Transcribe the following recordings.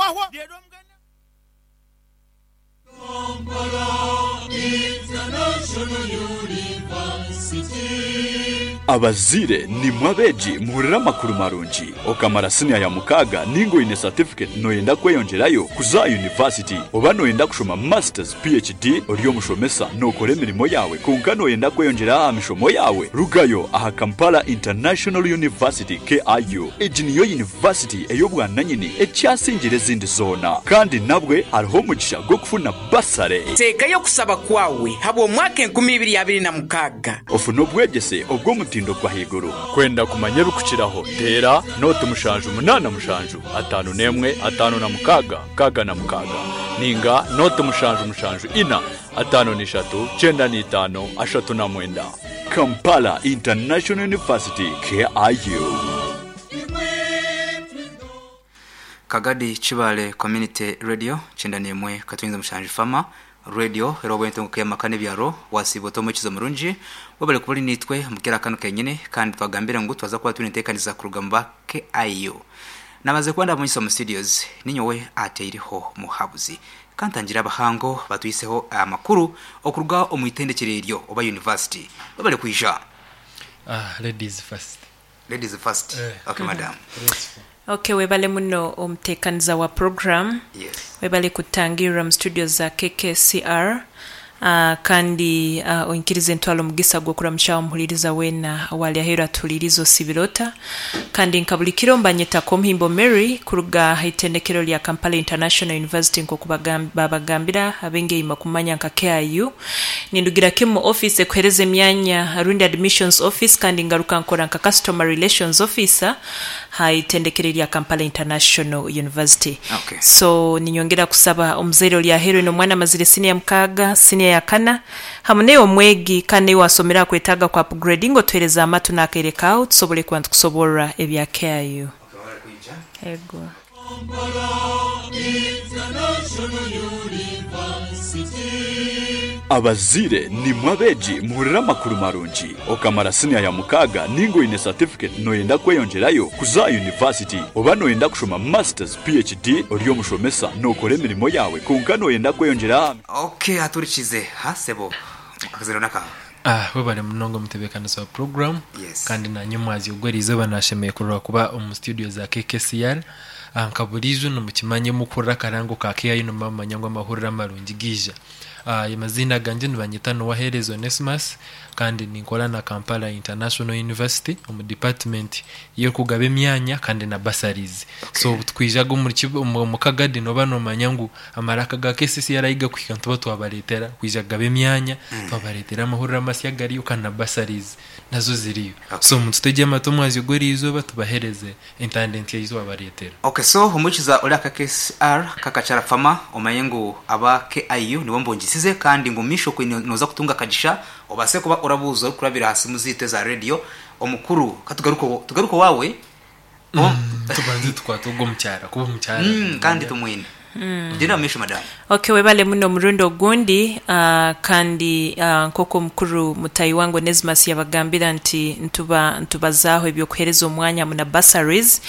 Wahwa. Abazaire nimwe abeegi muhurire amakuru marungi. Okamara siniya ya mukaaga ninga oine certificate noyenda kweyongyerayo kuza aha university oba noyenda kushoma masters, PHD, ori omushomesa nokora emirimo yaawe kwonka noyenda kweyongyera aha mishomo yaawe, rugayo aha Kampala International University, KIU. Egi niyo yunivasiti ey'obwananyini ekyasingire ezindi zoona. Kandi nabwe hariho omugisha gw'okufuna basare. Teekayo okusaba kwawe habw'omwaka 2026. Ofune obwegyese obw'omutindo gw'ahaiguru. Kwenda kumanya ebikukiraho, teera nooti 7 8 7 1 5 6 6 ninga nooti 7 7 4 5 3 95 39. Kampala International University, KIU. Kagadi Kibaale Community Radio kyenda n'emwe katwinza mushanju Farmer Radio era obw'entunguka y'amaka n'ebyaro wasiiba ota omwekizo murungi webale kuba ori naitwe omu keera kanu kenyini kandi twagambire ngu twaza kuba twine enteekaniza kuruga mu ba KIU Nabanze kuba ndabamanyisa omu studios ninyowe ateiriho muhabuzi Kantangire abahango batwiseho amakuru okuruga omu itendekyero eryo oba university. Webale kwija. Ah ladies first. Ladies first. Eh. Okay madam. Graceful. Ok webale muno omutekaniza wa program. Yes. Webale kutangirira mu studio za KKCR kandi oinkirize ntwale omugisa gw'okuramukyaaho omuhuririza weena owaali aheeru atuhuririize osiibire ota? Kandi nka buli kiro mba nyeta Komuhimbo Mary kuruga aha itendekero lya Kampala International University nk'oku babagambira ab'engeima kumanya nka KIU. Nindugira kimu mu office ekuhereza emyanya rundi Admissions Office kandi ngaruka nkora nka Customer Relations Officer ha itendekero erya Kampala International University. Okay. So ninyongera kusaba omuzaire ori aheeru oine omwana amazire siniya mukaaga, siniya ya kana, hamu naiwe omwegi kandi naiwe wasomera aha kwetaaga kwa upgrading otuhereze amatu n'akaire kaawe tusobole kuba nitukusoborra ebya KIU. Ego. Abazaire nimwe abeegi muhurire amakuru marungi. Okamara siniya ya mukaaga ninga oine certificate noyenda kweyongyerayo kuza aha university oba noyenda kushoma masters, PHD, ori omushomesa nokora emirimo yaawe kwonka noyenda kweyongyera aha. Ok aturikize ha sebo akazina nakaha. Ah webare munonga omutebekanisa wa program Yes. kandi nanye omwazyo ogw'erizooba nashemeye kurora kuba omu studio za KKCR Ah, nka buriijo nimukimanya mukuhurira akarango ka KIU nimuba mumanya ngu amahurire amarungi gaija Ah, amaziina gangye nibanyeta Nuwahereza Onesmus kandi ninkora na Kampala International University omu department y'okugaba emyanya kandi na bursaries. So obu tukwijaga omuri omu Kagadi nooba noomanya ngu amaraka ga KCCR ahi gakuhika nituba twabareetera kwija kugaba emyanya, twabareetera amahurire amasya agariyo kandi na bursaries nazo ziriyo. So mututegye amatu omwazyo gw'eriizooba tubaheereze entanda ei twabareetera. Ok so omukiza ori aka KCR kakakyara farmer omanye ngu aba KIU nibo mbungisize kandi ngu omumaisho okwe noza kutunga akagisha obase kuba orabuuza orikurabira aha simu zeitu eza radio omukuru katugaruke tugaruke owaawe Tubanze tukwate ogwo omukyara kuba omukyara Kandi tumwine. Gyenda omu maisho madam. Ok webale muno omurundi ogundi kandi nkoku omukuru mutahi wange Onesmus yabagambira nti nituba nitubazaaho ebyokuhereza omwanya hamu na bursaries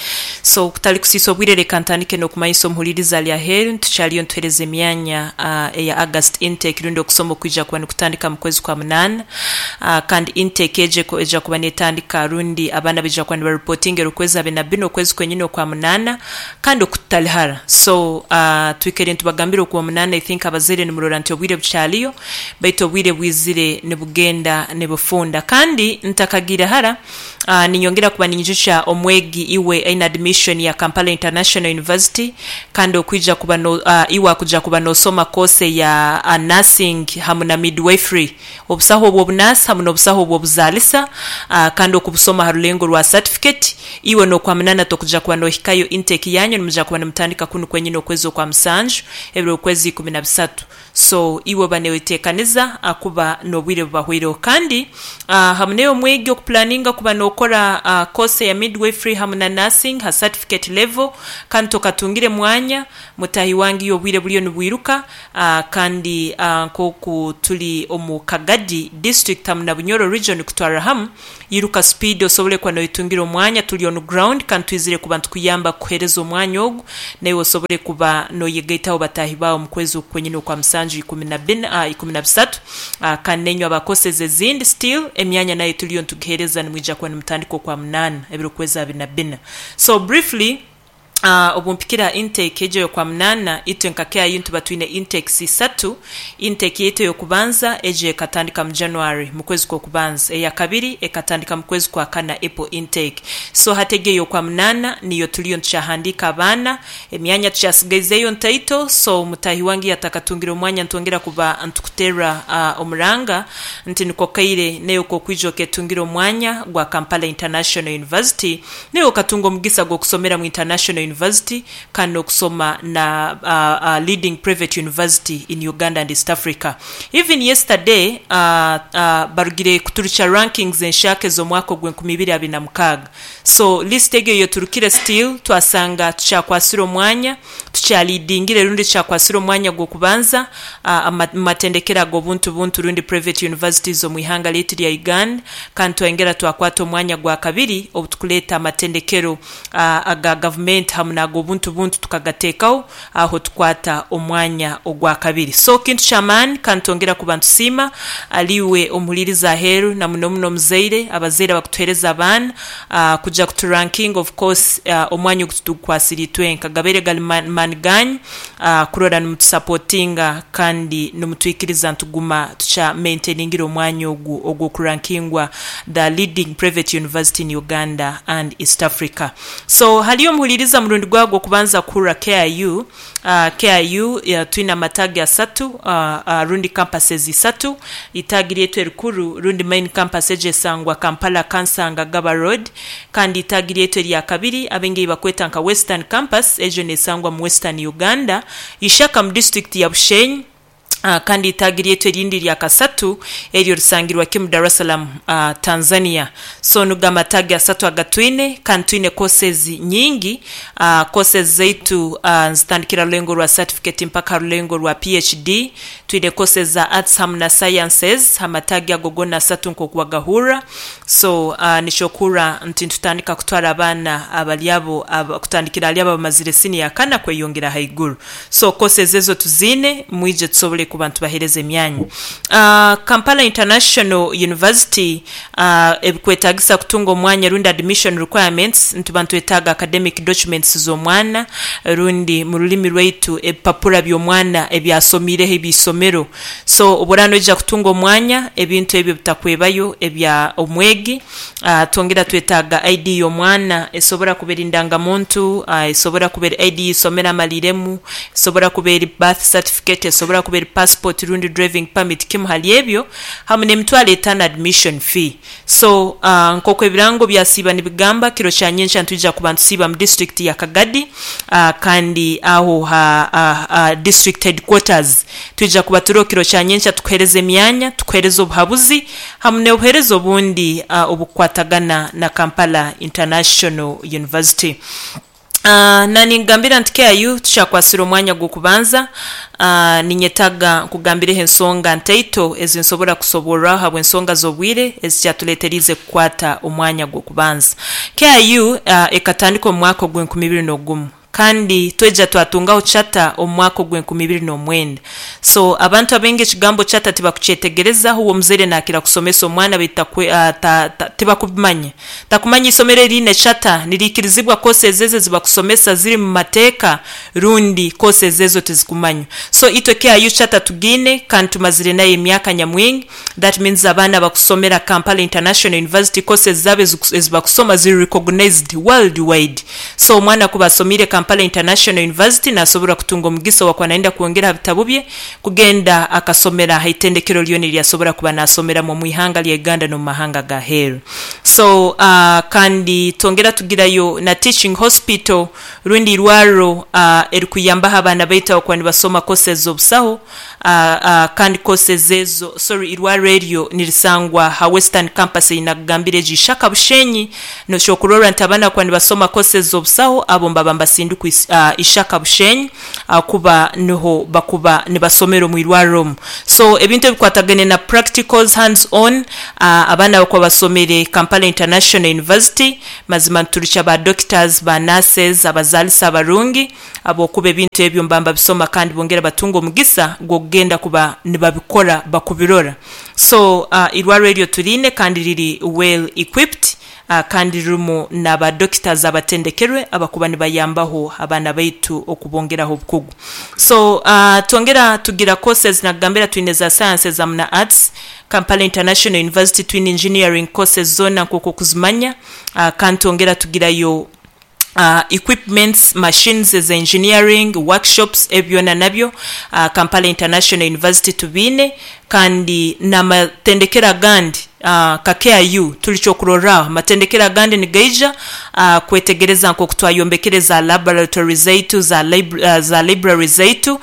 so kutali kusiisa obwire reka ntandike nokumanyisa omuhuririza ali aheeru nti tukyaliyo nituhereza emyanya eya August intake rundi okusoma okwija kuba nikutandika mukwezi kwa munaana kandi intake egyo eja kuba netandika rundi abaana baija kuba niba reportinga okwezi abe na bina okwezi kwenyini okwa munaana Kandi oku tutali hara. So twikaire nitubagambira okuba omunaana I think abazaire nimurora nti obwire bukyaliyo baitu obwire bwizire nibugenda nibufunda. Kandi ntakagiire hara ninyongera kuba ninyijukya omwegi iwe aine admission ya Kampala International University kandi okwija kuba no iwe akuja kuba nosoma course eya nursing hamu na midwifery obusaho obw'obunasi hamu n'obusaho obw'obuzaalisa kandi okubusoma ha rulengo rwa certificate. Iwe n'okwa munana tokuja kuba nohikayo intake yanyu nimuja kuba nimutandika kunu kwenyini okwezi okwa. okwa musanju ebiro okwezi 13. So iwe oba newetekaniza akuba nobwire bubahweireho. Kandi hamu neyo omwegi okupulaninga kuba nokora course eya midwifery hamu na nursing ha certificate level kandi tokatungire mwanya, mutahi wange iwe obwire buriyo nibwiruka kandi nkoku turi omu Kagadi district hamu na Bunyoro region kutwarra hamu, Iruka speed osobole kuba noyetungira omwanya, turi on ground kandi twizire kuba nitukuyamba kukuhereza omwanya ogu naiwe osobole kuba noyegaitaho bataahi baawe omu kwezi oku kwenyini okwa musanju 14 13 kandi nainywe aba courses ezindi still emyanya nayo turiyo nitugihereza nimwija kuba nimutandika okwa munaana ebiro kwezi 24 so briefly Obu mpikire ha intake egyo ey'Okwamunaana, itwe nka KIU nituba twine intakes isatu. Intake yaitu ey'okubanza egyo ekatandika mu January, mu kwezi kw'okubanza. Eyakabiri ekatandika mu kwezi kwa kana, April intake. So hati egyo ey'Okwamunaana niyo turiyo nitukyahandiika abaana. Emyanya tukyasigaizeyo ntaito, so mutaahi wange yatakatungire omwanya nitwongera kuba nitukuteerra omuranga nti niko kaire naiwe k'okwija oketungira omwanya gwa Kampala International University. Naiwe okatunga omugisa gw'okusomera mu International University kandi n'okusoma na leading private university in Uganda and East Africa. Even yesterday barugire kuturukya rankings enshaka ez'omwaka ogw'enkumi ibiri abiri na mukaaga. So list egyo yoturukire still twasanga tukyakwasire omwanya, tukyalidingire rundi tukyakwasire omwanya gw'okubanza mu matendekero ag'obuntu buntu rundi private universities omu ihanga lyaitu lya Uganda. Kandi twayongera twakwata omwanya gwa kabiri obu tukuleeta amatendekero aga gavumenti hamu n'ag'obuntu buntu tukagateekaho, aho tukwata omwanya ogwa kabiri. So kintu ky'amaani kandi twongera kuba nitusiima aliiwe omuhuliiriza aheeru na muno muno omuzaire, abazaire abakutuheereza abaana kuja kuturankinga of course omwanya ogu titugukwasire itwenka gabaire gali maani gaanyu kurora nimutusapotinga kandi nimutwikiriza nituguma tukya maintainingire omwanya ogu ogw'okurankingwa the leading private university in Uganda and East Africa. So haliyo omuhuliriza murundi gwawe gw'okubanza kuhurra KIU, KIU twine amataagi asatu rundi campuses isatu, itaagi ryaitu erikuru rundi main campus egyo esangwa Kampala Kansanga Gaba Road, Kandi itaagi lyaitu erya kabiri abaingi ei bakweta nka Western Campus, egyo nesangwa mu Western Uganda, Ishaka mu disiturikiti ya Bushenyi. Kandi itaagi lyaitu erindi erya kasatu eryo risangirwa kimu Dar es Salaam, Tanzania. So nigo amataagi asatu agatwine kandi twine courses nyingi. Courses zaitu nizitandikira rulengo rwa certificate mpaka ha rulengo rwa PhD. Twine courses za Arts hamu na Sciences amataagi ago gona asatu nkoku wagahurra. So nikyokuhurra nti nitutandika kutwara abaana abari abo kutandikira ahari abo abamazire siniya ya kana kweyongera ahaiguru. So courses ezo tuziine, mwije tusobole kuba nitubahereza emyanya. Kampala International University ebikwetagisa kutunga omwanya rundi admission requirements, nituba nitwetaaga academic documents z'omwana rundi mu rurimi rwaitu ebipapura by'omwana ebyasomiireho eby'eisomero. So obu oraaba noija kutunga omwanya, ebintu ebyo bitakwebayo ebya omwegi. Twongera twetaaga ID y'omwana, esobora kuba eri ndangamuntu, esobora kuba eri ID y'eisomero amaliiremu, esobora kuba eri birth certificate, esobora kuba eri passport rundi driving permit, kimu hali ebyo, hamu n'emitwaro etaano admission fee. So nk'oku ebirango byasiiba nibigamba, kiro kya nyenkya nitwija kuba nitusiiba mu disiturikiti ya Kagadi kandi aho ha district headquarters. Twija kuba turiho kiro kya nyenkya tukuhereza emyanya, tukuhereza obuhabuzi hamu n'obuhereza obundi obukukwatagana na Kampala International University. Na ninkugambira nti KIU tukyakwasire omwanya gw'okubanza. Ninyetaga nkugambireho ensonga ntaito ezi nsobora kusoborraho habw'ensonga z'obwire ezikyatuleteriize kukwata omwanya gw'okubanza. KIU ekatandika omu mwaka ogw'enkumi ibiri n'ogumu kandi twaija twatungaho charter omu mwaka ogw'enkumi ibiri n'omwenda. So abantu abaingi ekigambo charter tibakukyetegereza, huwe omuzaire nakira kusomesa omwana baitu tibakubimanya. Takumanya eisomero eriine charter niriikirizibwa courses ezo ezibakusomesa ziri mu mateeka rundi courses ezo tizikumanywa. So itwe KIU charter tugiine kandi tumazire nayo emyaka nyamwingi that means abaana abakusomera Kampala International University courses zaabo ezibakusoma ziri recognized world wide. So omwana kuba asomiire Kampala. Kampala International University nasobora kutunga omugisa owakuba nayenda kwongera ha bitabu bye kugenda akasomera ha itendekero lyona eryasobora kuba nasomeramu omu ihanga lya Uganda n'omu mahanga aga heeru. So kandi twongera tugirayo na Teaching Hospital rundi irwarro erikuyambaho abaana baitu abakuba nibasoma courses z'obusaho kandi courses ezo, sorry irwarro eryo nirisangwa ha Western Campus ei nakugambire egyo Ishaka Bushenyi. Nokyokurorra nti abaana abakuba nibasoma courses z'obusaho abo nibaba nibasindikwa Ishaka Bushenyi ahakuba niho bakuba nibasomera omu irwarro omu. So ebintu ebikwatagaine na practicals, hands on, abaana abakuba basomere Kampala International University mazima niturukya ba doctors, ba nurses, abazaalisa abarungi ahabw'okuba ebintu ebyo nibaba nibabisoma kandi bongera batunga omugisa gw'okugenda kuba nibabikora bakubirora. So irwarro eryo turiine kandi riri well equipped kandi ririmu na ba doctors abatendekerwe abakuba nibayambaho abaana baitu okubongeraho obukugu. So twongera tugira courses nakugambira twine za sciences hamu na arts, Kampala International University twine engineering courses zoona nkoku okuzimanya kandi twongera tugirayo equipments, machines eza engineering, workshops ebyo byona nabyo Kampala International University tubiine kandi n'amatendekero agandi nka KIU turi ky'okurorraho. Amatendekero agandi nigaija kwetegereza nk'oku twayombekere za laboratory zaitu, za library zaitu,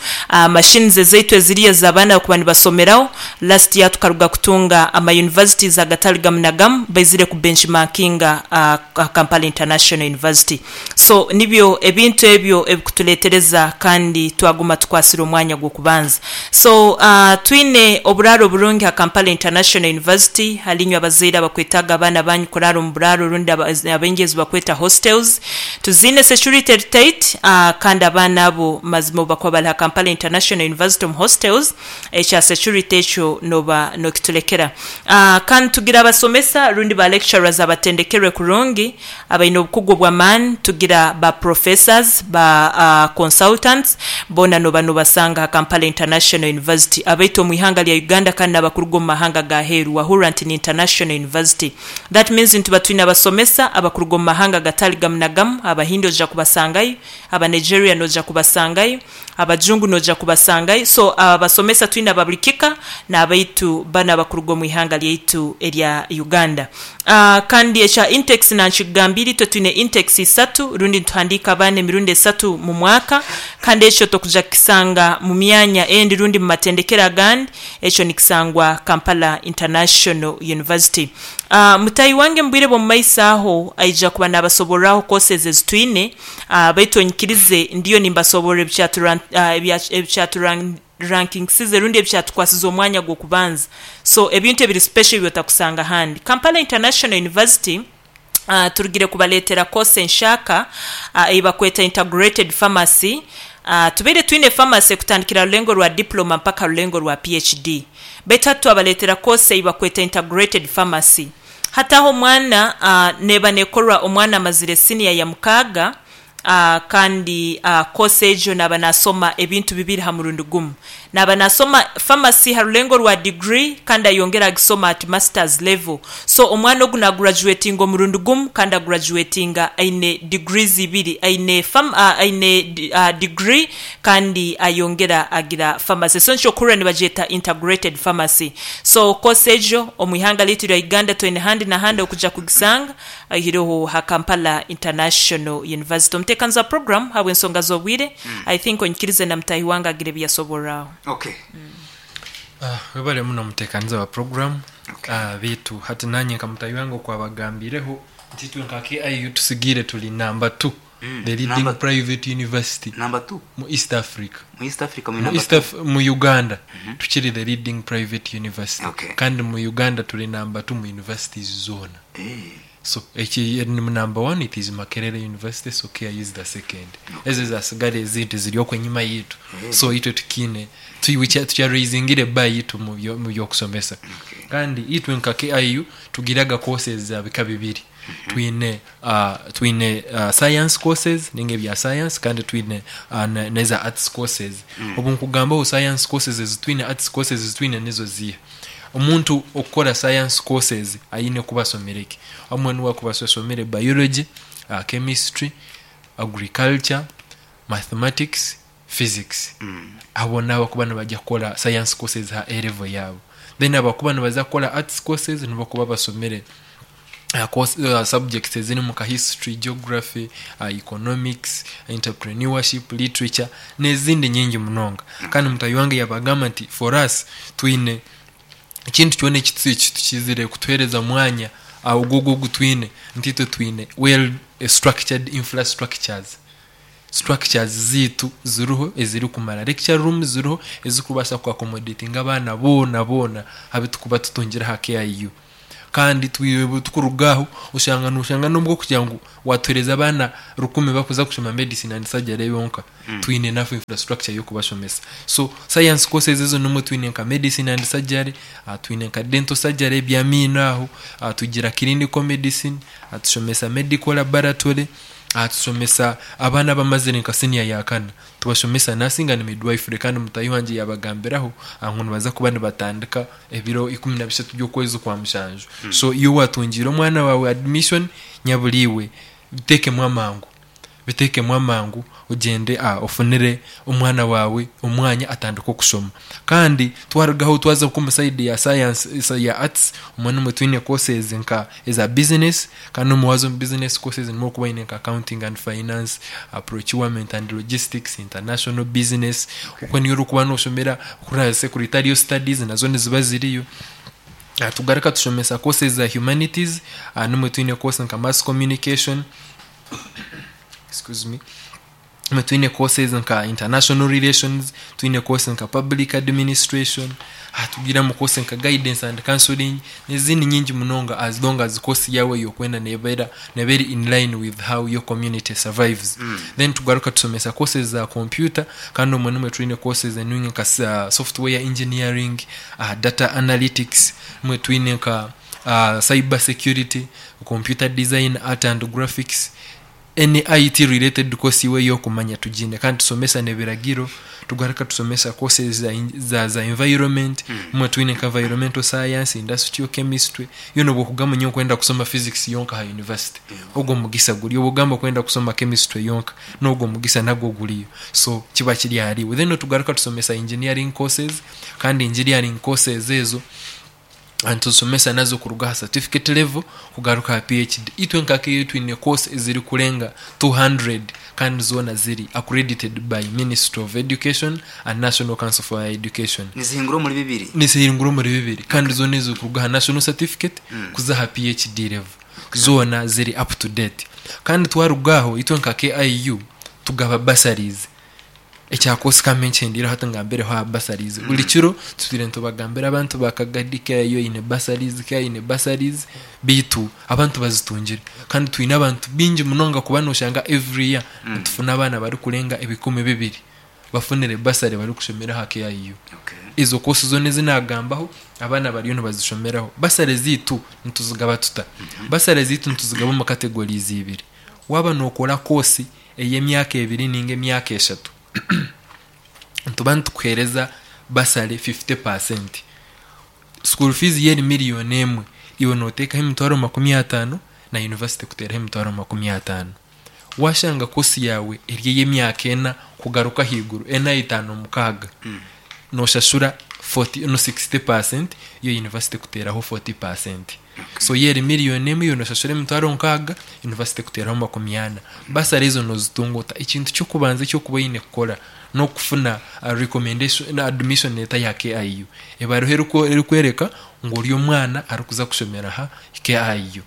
machines ezaitu eziri ez'abaana abakuba nibasomeraho. Last year tukaruga kutunga ama universities agatari gamu na gamu baizire ku benchmarkinga Kampala International University. So nibyo ebintu ebyo ebikuturetereza kandi twaguma tukwasire omwanya gw'okubanza. So twine oburaaro burungi ha Kampala International University hali inywe abazaire abakwetaaga abaana banyu kuraara omu buraaro rundi abaingi ezi bakweta hostels. Tuziine security eri tight kandi abaana abo mazima obu bakuba bari ha Kampala International University omu hostels, Ekya security ekyo noba nokitulekera. Kandi tugira abasomesa rundi ba lecturers abatendekerwe kurungi, abaine obukugu obw'amaani, tugira ba professors, ba consultants, boona noba nobasanga ha Kampala International University. Abaitu omu ihanga lya Uganda kandi n'abakuruga omu mahanga aga heeru wahurra nti ni international university. That means nituba twine abasomesa abakuruga omu mahanga agatari gamu na gamu, Abahindi oija kubasangayo, Abanigeria noija kubasangayo, Abajungu noija kubasangayo. So abasomesa twine aba buri kika n'abaitu banu abakuruga omu ihanga lyaitu erya Uganda. Kandi ekya intakes nankikugambiire itwe twine intakes isatu rundi nituhandiika abaana emirundi esatu mu mwaka kandi ekyo tokuja kukisanga mu myanya endi rundi mu matendekero agandi, ekyo nikisangwa Kampala International University. Mutaahi wange mu bwire bw'omu maiso aho aija kuba nabasoborraho courses ezi twine. Baitu onyikirize ndiyo nimbasoborra ebikyaturankingisize rundi ebikyatukwasize omwanya gw'okubanza. So ebintu ebiri special ebi otakusanga handi. Kampala International University turugire kubaleetera course enshaka ei bakweta Integrated Pharmacy. Tubaire twine pharmacy kutandikira ha rulengo rwa diploma mpaka ha rulengo rwa PhD. Baitu hati twabaleetera course ei bakweta Integrated Pharmacy. Hati aho omwana neeba neekorwa omwana amazire siniya ya mukaaga kandi koosi egyo naaba naasoma ebintu bibiri ha murundi gumu. Naaba naasoma Pharmacy ha rulengo rwa diguri kandi ayongera agisoma at Masters level. So omwana ogu naagurajuwetinga omurundi gumu kandi agurajuwetinga aine degrees ibiri, aine aine diguri kandi ayongera agira Pharmacy. So nikyo okuhurira nibagyeta Integrated Pharmacy. So course egyo omu ihanga lyaitu erya Uganda twine handi na handi okuja kugisanga oihireho ha Kampala International University. Omuteekanizi wa program ahabw'ensonga z'obwire, I think onyikirize na mutaahi wange agire ebi yasoborraho. Okay. Webale muno omuteekaniza wa program. Beitu hati nanye nka mutaahi wange oku abagambiireho nti itwe nka KIU tusigaire turi number two. The leading Number- private university Number two. mu East Africa. Mu East Africa muri Mu number East two. Af mu Uganda tukiri the leading private university. Okay. Kandi mu Uganda turi number two mu universities zoona. Eh. So eki ni number one it is Makerere University so KIU is the second. Ezo ezasigara ezindi ziri okwo enyima yitu. So itwe tukiine tukya raisingire bar yitu mu by'okusomesa. Kandi itwe nka KIU tugiraga courses za bika bibiri. Twine twine science courses ninga ebya science kandi twine n'eza arts courses. Obu nkugambaho science courses ezi twine, arts courses ezi twine nizo ziiha? Omuntu okukora science courses aine kuba asomire ki? Obumwe niwe akuba asomire biology, chemistry, agriculture. Mathematics, Physics. Abo n'abakuba nibajya kukora science courses aha A level yaabo. Then abakuba nibaza kukora arts courses nibo bakuba basomire course, subjects ezirimu nka history, geography, economics, entrepreneurship, literature n'ezindi nyingi munonga. Kandi mutahi wange yabagamba nti for us twine ekintu kyona ekitukizire kutuhereza mwanya ogwo ogu twine nti itwe twine well structured infrastructures. Structures zaitu ziriho ezirikumara, lecture rooms ziriho ezirikubaasa ku accommodatinga abaana boona boona abu turikuba tutungire aha KIU. Kandi tukuruga aho oshanga noshanga nobwo kugira ngu watuhereza abaana rukumi bakuza kushoma medicine and surgery yonka, twine enough infrastructure yokubashomesa. So science courses ezo nimwo twine nka medicine and surgery, twine nka dental surgery ebyamaino aho, tugira clinical medicine, tushomesa medical laboratory, tushomesa abaana abamazire nka senior ya kana. Tubashomesa nursing and midwifery kandi mutahi wangye yabagambiraho ngu nibaza kuba nibatandika ebiro 13 by'okwezi kwa mushanju. So iwe watungiire omwana waawe admission nyabura iwe biteekemu amangu. Biteekemu amangu ogyende ofunire omwana waawe omwanya atandike okushoma. Kandi twarugaho twaza nk'omu sayidi ya science ya arts omwo nimwo twine courses nka eza business kandi omu waaza omu business courses nimwo orikuba oine nka accounting and finance, procurement and logistics, international business, okwo niyo orikuba noshomera kuriya secretarial studies nazo niziba ziriyo. Tugaruka tushomesa courses za humanities, nimwo twine course nka mass communication, excuse me, Nimwo twine courses nka international relations, twine course nka public administration, tugiramu course nka guidance and counseling n'ezindi nyingi munonga as long as course yaawe ei orikwenda neeba eri in line with how your community survives. Then tugaruka tushomesa courses za computer kandi omwo nimwo twine courses enungi nka software engineering, data analytics, nimwo twine nka cyber security, computer design, art and graphics. Any IT related course iwe eyokumanya tugiine kandi tusomesa nebiragiro, tugaruka tusomesa courses za za environment, obumwe twine nka environmental science, industrial chemistry, yoona obu okugamba nyowe nkwenda kusoma physics yonka aha university, ogwo omugisa guriyo, obu okugamba okwenda kusoma chemistry yonka, nogwo omugisa nagwo guriyo, so kiba kiri ahariiwe. Then tugaruka tusomesa engineering courses, kandi engineering courses ezo, Nituzishomesa nazo kuruga aha certificate level kugaruka aha PhD. Itwe nka KU twine course ezirikurenga 200 kandi zoona ziri accredited by Ministry of Education and National Council for Higher Education. Nizihingura omuri bibiri? Nizihingura omuri bibiri kandi zoona ezirikuruga aha national certificate kuza aha PhD level zoona ziri up to date. Kandi twaruga aho itwe nka KIU tugaba bursaries. Ekya course kambe nkyendeire hati ngambireho aha bursaries. Buri kiro tutwire nitubagambira abantu ba Kagadi KIU eine bursaries, KIU eine bursaries beitu abantu bazitungire. Kandi twine abantu baingi munonga kuba noshanga every year nitufuna abaana barikurenga 2000 bafunire bursary barikushomera aha KIU. Ezo course zoona ezi nagambaho abaana bariyo nibazishomeraho. Bursary zeitu nituzigaba tuta? Bursary zeitu nituzigaba omu categories ibiri. Waaba nokora course ey'emyaka ebiri ninga emyaka eshatu, nituba nitukuheereza basale 50%. School fees yo eri miriyoni emwe, iwe noteekaho 50,000 na yunivasite ekuteeraho 50,000. Waashanga koosi yaawe eri ey'emyaka ena kugaruka ahaiguru, ena, etaano, mukaaga, noshashura 40 no 60% yo yunivasite ekuteeraho 40%. So yo eri miriyoni emwe iwe noshashura 60,000, yunivasite ekuteeraho 40. Basare ezo nozitunga ota? Ekintu ky'okubanza eki orikuba oine kukora n'okufuna recommendation, admission letter ya KIU. Ebaruha erikworeka ngu ori omwana arikuza kushomera aha KIU.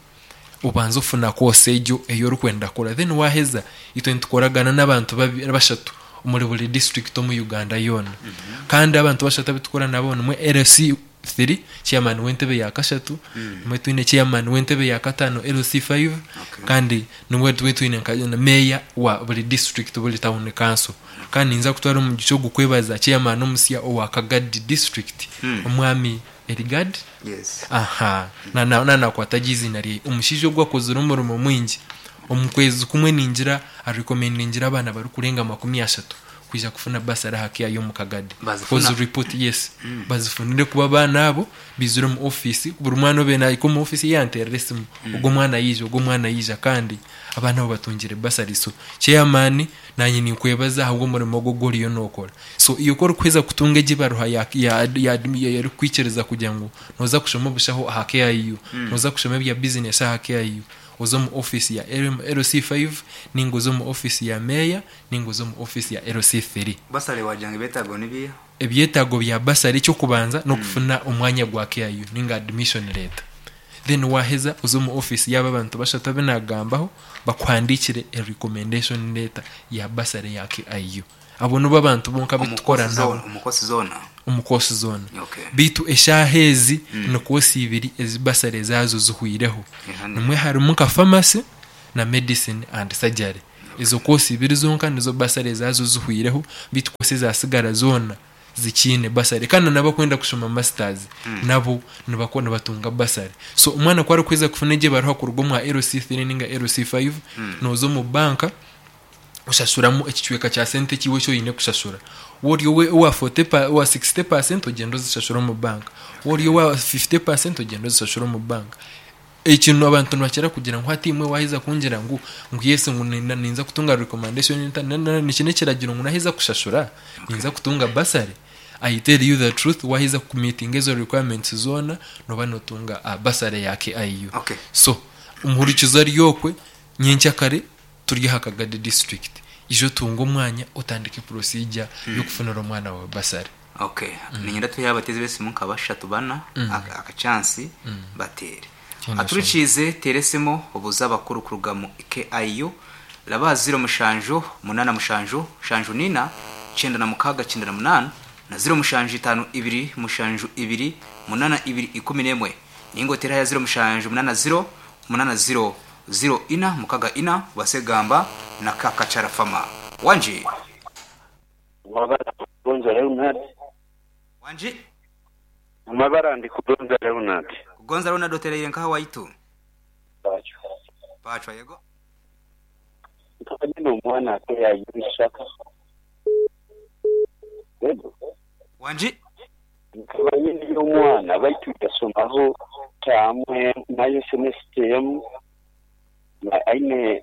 Obanze ofuna course egyo ei orikwenda kukora then waheza itwe nitukoragana n'abantu bashatu omuri buri district omu Uganda yoona. Kandi abantu bashatu abu tukora nabo nimwe LC 3, chairman w'entebe ya kashatu, nimwe twine chairman w'entebe ya kataano LC5, kandi nimwe tube twine nka meeya wa buri district buri town council. Kandi ninza kutwara omugisha ogu kwebaza chairman omusya owa Kagadi district, omwami Eligad, aha, na na nakwata gye eiziina rye. Omushaija ogu akozire omurimo mwingi. Omu kwezi kumwe ningira arekomendingire abaana barikurenga 30. kwija kufuna basari aha KIU omu Kagadi. Bazifuna? Because report yes bazifunire kuba abaana abo baizire omu ofiisi buri mwana obaire nahika omu ofiisi yanteerera esimu ogwo omwana yaija ogwo omwana yaija kandi abaana abo batungire basari. So chairman, nanye ninkwebaza ahabw'omurimo ogu ogu oriyo nookora. So iwe ku orikuheza kutunga egi ebaruha ya ya ya erikukwikiriza kugira ngu nooza kushoma obushaho aha KIU, nooza kushoma ebya bizinesi aha KIU, oze omu ofiisi ya LC5 ninga oze omu ofiisi ya meeya ninga oze omu ofiisi ya LC3. Basale wagira ngu ebyetaago ni biiha? Ebyetaago bya basari eky'okubanza n'okufuna omwanya gwa KIU ninga admission letter. Then waaheza oze omu ofiisi yaabo abantu bashatu abu naagambaho bakuhandiikire a recommendation letter ya basari ya KIU. Abo nibo abantu bonka abu Omu tukora course nabo. zoona, omu course zoona? Omu course zoona. Okay. Beitu eshaaha ezi ni course ibiri ezi basari ezaazo zihweireho. Eha ni- Nimwe harimu nka pharmacy na medicine and surgery. Ezo course ibiri zonka nizo basari ezaazo zihweireho beitu course ezasigara zoona zikiine basari. Kandi n'abakwenda kushoma masters nabo nibako nibatunga basari. So omwana ku arikuheza kufuna egyo ebaruha kuruga omwa LC3 ninga LC5, nooza omu banka oshashuramu ekicweka kya sente eki iwe eki oine kushashura. Waaba ori owa forty pa owa sixty percent ogyenda ozishashura omu banka, waaba ori owa fifty percent ogyenda ozishashura omu banka. Eki abantu nibakira kugira ngu hati imwe waaheza kungira ngu ngu yes ngu ninza kutunga recommendation eki n'ekiragiro ngu naaheza kushashura ninza kutunga bursary? I tell you the truth waaheza ku meetinga ezo requirements zoona nooba nootunga bursary ya KIU. Okay. So omuhurikizo ari okwe nyenkyakare turi aha Kagadi district ija otunge omwanya otandike procedure y'okufunira omwana waawe bursary. Okay, niinyenda tuhe abateezi b'esimu nka bashatu bana aka chance bateere. Kyenda Aturikiize teera esimu obuuze abakuru kuruga mu KIU raba aha ziro mushanju munaana mushanju nshanju nina 96 98 na ziro mushanju itaano ibiri mushanju ibiri munaana ibiri 11 ninga oteere aha ya ziro mushanju munaana ziro munaana ziro ziro ina mukaga ina obaase kugamba na Kakachara Farmer. Wangi! Amabara Kugonza Leonard. Wangi! Amabara ndi Kugonza Leonard. Kugonza Leonard otereire nkaha waitu? Pacwa. Pacwa yego. Nkaba nyine omwana ate yayibishaka. Yego. Wangi! Nkaba nyine omwana baitu yasomaho taamu nayo semesita emu aine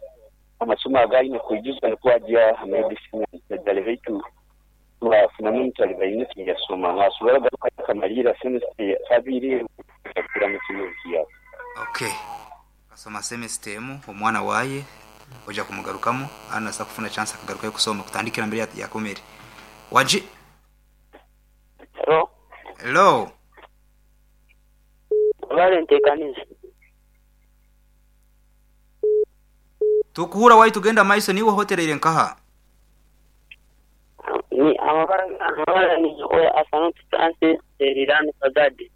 amasomo agu aine kwijuza nikwo agya aha medicine and surgery baitu twafunamu emitalibaine tiyasoma nasobora kugarukayo akamariira semesita kabiri akakuramu kimwe ekiyaka. Ok akasoma semester emu omwana waye oja kumugarukamu anasa kufuna chance akagarukayo kusoma kutandikira mbere yakomere. Wangi. Hello. Hello. Webale ntekaniza. Tukuhura waitu genda maiso niiwe ohotereire nkaha? Ni amabara amabara ni oya Asanoti Francis Erirani Kagadi.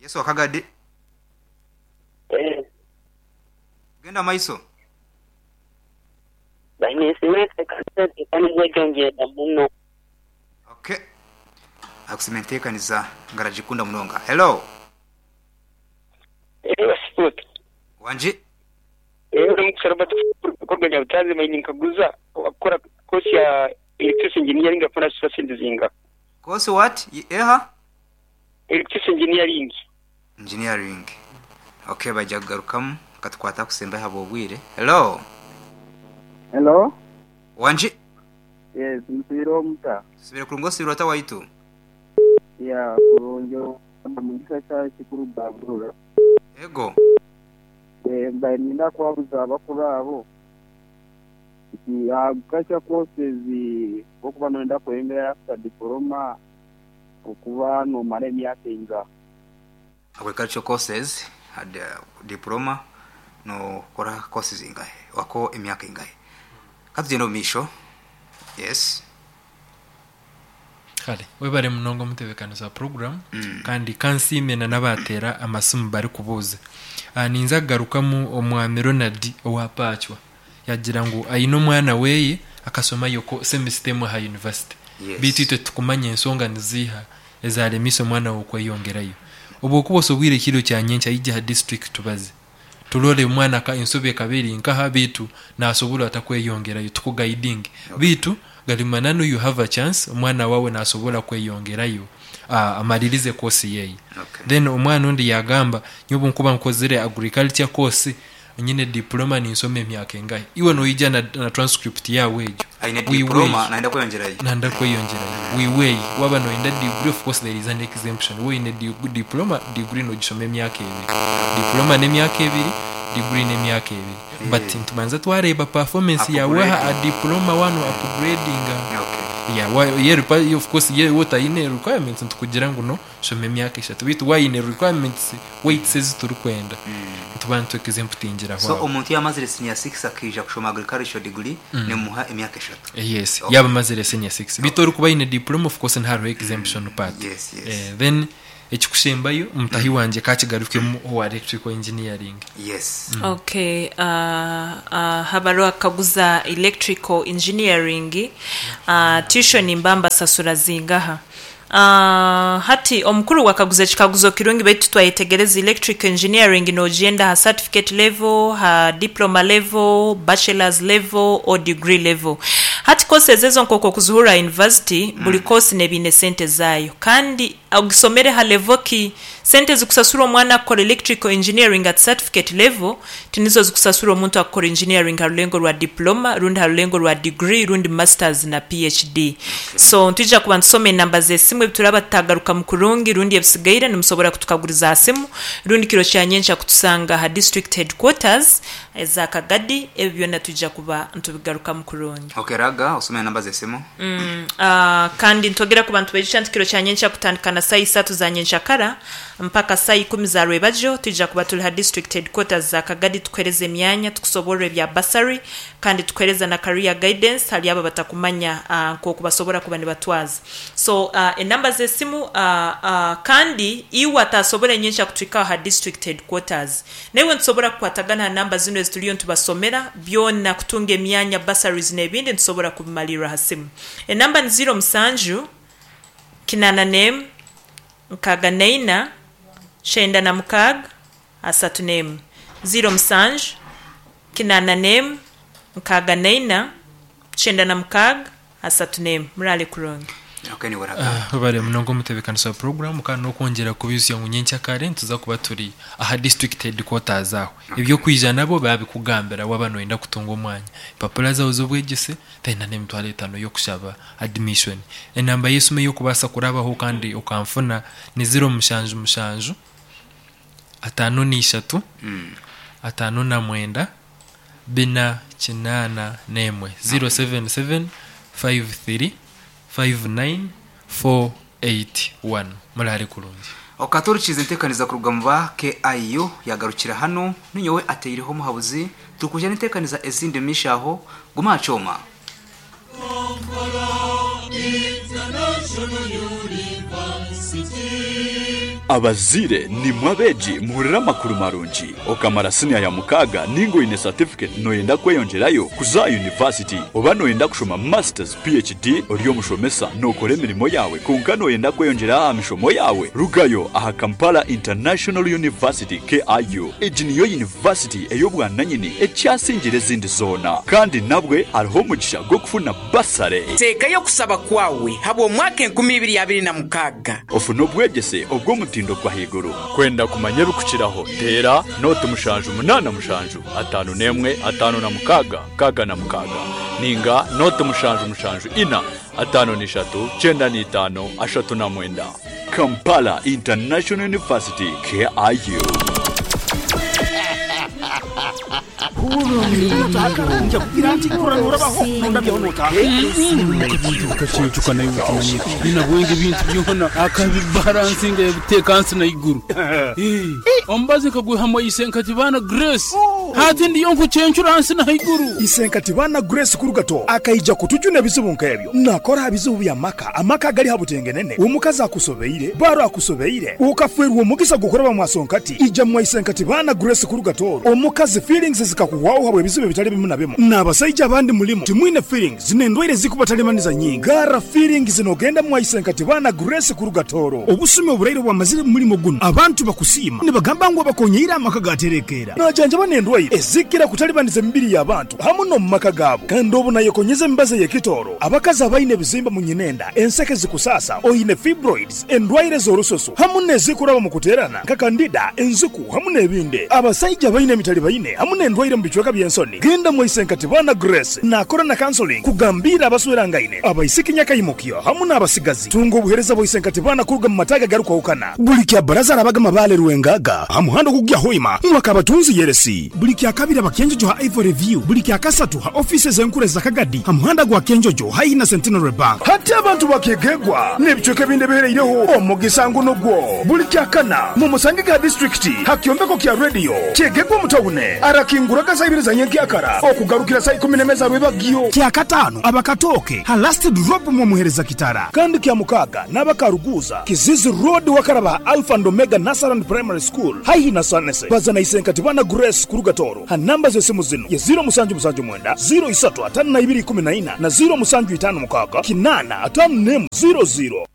Yesu wa Kagadi. Eh. Genda maiso. Baine enteekaniza enteekaniza egyo ngyenda muno. Ok. Akusima enteekaniza nga aragikunda munonga. Hello. Eeh Sipoti. Wangi. Eeh Omugisha Robert kuruga Nyabutazi mbaire ninkaguza owakukora course ya electricity engineering afuna sente zingaha? Course what? Eha? Electricity engineering. Engineering. Ok baija kugarukamu katukwate akusembayo ahabw'obwire. Hello. Hello. Wangi. Yes, musibire muta? Tusibire kurungi osibire ota waitu? Yeah, kurungi Mugisha Charles kuruga Burora. Ego. Eh, mbaire niinyenda kuhabuza abakuru abo nti agriculture courses okuba noyenda kweyongerayo after diploma okuba nomara emyaka eingaha? Agriculture courses diploma nokora courses ingahi wako emyaka ingahi? Katugyende omu maisho. Yes. Kare webare munonga omutebekanisa wa puroguramu kandi ka nsiime na n'abaateera amasimu barikubuuza. Ninza kugarukamu Omwami Ronald owa Paacwa yaagira ngu aine omwana we akashomayo semisita emwe aha yunivasite beitu itwe titukumanya enshonga niziiha ezaaremiise omwana we kweyongerayo. Obu okuba osobwire ekiro kya nyenkya ija aha disiturikiti tubaze. Turore omwana ka ensobi ekaba eri nkaha beitu nasobora ata kweyongerayo tukugaidinge. Beitu. Gali mananu you have a chance omwana wawe nasobora kweyongerayo amalirize course yeye. Then omwana ondi yagamba nyowe obunkuba nkozire agriculture course nyine diploma ninsoma emyaka engahi? Iwe noija na transcript yawe egyo. Aine We diploma weigh. nayenda kweyongyerayo. Nayenda kweyongyerayo. We weigh. Waba noyenda degree of course there is an exemption. Waaba oine diploma, degree nogishoma emyaka ebiri. Diploma n'emyaka ebiri, degree n'emyaka ebiri. But nitubanza twareeba performance yaawe aha diploma waaba no upgradinga. Yeah, wa, ye, of course ye otaine requirements nitukugira ngu no shoma emyaka eshatu. Beitu waaba oine requirements weights ezi turikwenda, nituba nitu exemptingiraho So aho. omuntu yaaba amazire senior six akaija kushoma agriculture degree nimuha emyaka eshatu? Yes, Okay. yaaba amazire senior six. Beitu orikuba aine diploma of course nihariho exemption part. Yes, yes. Then ekikushembayo mutahi wangye kakigarukemu owa electrical engineering. Yes. Okay, habaruho akaguza electrical engineering, tuition mba mbasasura zingaha? Hati omukuru wakaguza ekikaguzo kirungi baitu twayetegereza electrical engineering nogyenda ha certificate level, ha diploma level, bachelor's level or degree level. Hati courses ezo nkoku okuzihurra ha university, buri course neeba eine sente zaayo kandi ogisomere ha level ki? Sente ezikusasurwa omwana akukora electrical engineering at certificate level tinizo zikusasurwa omuntu akukora engineering ha rulengo rwa diploma rundi ha rulengo rwa degree rundi masters na PHD. So nitwija kuba nitusoma enamba z'esimu ebituraba tutagarukamu kurungi rundi ebisigaire nimusobora kutukaguriza ha simu rundi kiro kya nyenkya kutusanga ha district headquarters eza Kagadi ebi byona twija kuba nitubigarukamu kurungi. Okay Raga osome enamba z'esimu. Kandi nitwogera ku bantu baijukya nti kiro kya nyenkya kutandika na saaha isatu za nyenkyakara mpaka saaha ikumi za rwebagyo twija kuba turi ha district headquarters za Kagadi tukuhereza emyanya tukusoborra ebya bursary kandi tukuhereza na career guidance hali abo abatakumanya nkoku basobora kuba nibatwaza. So enamba z'esimu kandi iwe ataasobora nyenkya kutuhikaho ha district headquarters naiwe nitusobora kukwatagana ha namba zinu ezituriyo nitubasomera byona kutunga emyanya, bursaries n'ebindi nitusobora kubimalirra ha simu. Enamba ni ziiro musanju, kinaana n'emu, nkaaga naina, kyenda na mukaaga, asatu n'emu. Ziiro musanju, kinaana n'emu, nkaaga naina, 96, 31. Muraale kurungi. Webare munonga omutebekanisa wa puroguramu kandi n'okwongyera kubaijusya ngu nyenkyakare nituza kuba turi aha district headquarters aho. Eby'okwija nabwo baabikugambira waaba nooyenda kutunga omwanya. Empapura zaawe z'obwegyese then n'emitwaro etaano y'okushaba admission. Enamba y'esimu ey'okubaasa kurabaho kandi okanfuna ni ziro mushanju mushanju, 53, 59, bina 81, 077 53 59 481. Muraare kurungi. Okatorikiriza enteekaniza kuruga mu ba KIU yagarukira hanu, ninyowe ateireho omuhabuzi, turikwija n'enteekaniza ezindi omu maisho aho, guma aha kyoma. Abazaire nimwe abeegi muhurire amakuru marungi. Okamara siniya ya mukaaga ninga oine satifiketi noyenda kweyongyerayo kuza aha yunivasiti oba noyenda kushoma Masters, PHD, ori omushomesa nokora emirimo yaawe kwonka noyenda kweyongyera aha mishomo yaawe, rugayo aha Kampala International University, KIU. Egi niyo yunivasiti ey'obwananyini ekyasingire ezindi zoona. Kandi nabwe hariho omugisha gw'okufuna basare. Teekayo okusaba kwawe habw'omwaka 2026. Ofune obwegyese obw'omutindo gw'ahaiguru. Kwenda kumanya ebirikukiraho, teera nooti 7 8 7 1 56 66 nainga nooti 7 7 4 53 95 39. Kampala International University, KIU. Isenkatibana Grace Kurugato akaija kutujuna ebizibu nk'ebyo. Nakora aha bizibu by'amaka, amaka agali ha butengenene, omukazi akusobeire, baro akusobeire, okafeerwa omugisa gw'okuraba mwa Sonkati, ija mwa Isenkatibana Grace Kurugato omukazi feelings zikakuhwaho habw'ebizibu ebitali bimu na bimu. N'abasaija abandi mulimu timwine feelings n'endwaire ezikubatalimanisa nyingi. Garra feelings n'ogenda mwa Isenkatibana Grace Kurugatoro. Obusumi oburaire obwamazire mu mulimo guno, abantu bakusiima nibagamba ngu abakonyeire amaka gaterekeera. Najanjaba n'endwaire. endwaire ezikira kutalibaniza emibiri y'abantu hamu n'omu maka gaabo. Kandi obu nayekonyeza emibazi ey'ekitooro, abakazi abaine ebizimba mu nyinenda, enseke zikusaasa, oine fibroids, endwaire ez'orususu hamu n'ezikuraba mu kuteerana nka kandida, enziku hamu n'ebindi. Abasaija abaine emitalibaine hamu n'endwaire mu bicweka by'ensoni, genda mwaise nka Tibana Grace naakora na counseling kugambiira abaswerangaine, abaisiki nyakaimukyo hamu n'abasigazi. Tunga obuheereza bwa Isenkati Baana kuruga mu mataagi agarikwahukana. Buli kya Baraza arabaga Mabaale Rwengaga aha muhanda ogukugya Hoima mwaka abatunzi Yeresi. Buli kya Kabiri aba Kyenjojo ha Ivory View. Buli kya Kasatu ha ofiisi ez'enkuru eza Kagadi ha muhanda gwa Kyenjojo haihi na Centenary Bank. Hati abantu bakeegegwa n'ebicweka ebindi ebihereireho omugisa ngu nugwo. Buli kya Kana mumusangege ha disiturikiti ha kyombeko kya rediyo Kyegegwa omu tawune. Arakinguraga saa ibiri za nyenkyakara okugarukira saa ikumi n'emwe za rwebagyo. Kya Kataano aba Katooke ha Last Drop mwomuhereza Kitara. Kandi kya Mukaaga n'aba Karuguuza, Kizizi Road wakaraba ha Alpha and Omega Nursery and Primary School haihi na Sanese. Baza na Isenkati Bana Grace kuruga Tooro ha namba z'esimu zinu ye 0779 035214 na 0756 851 00.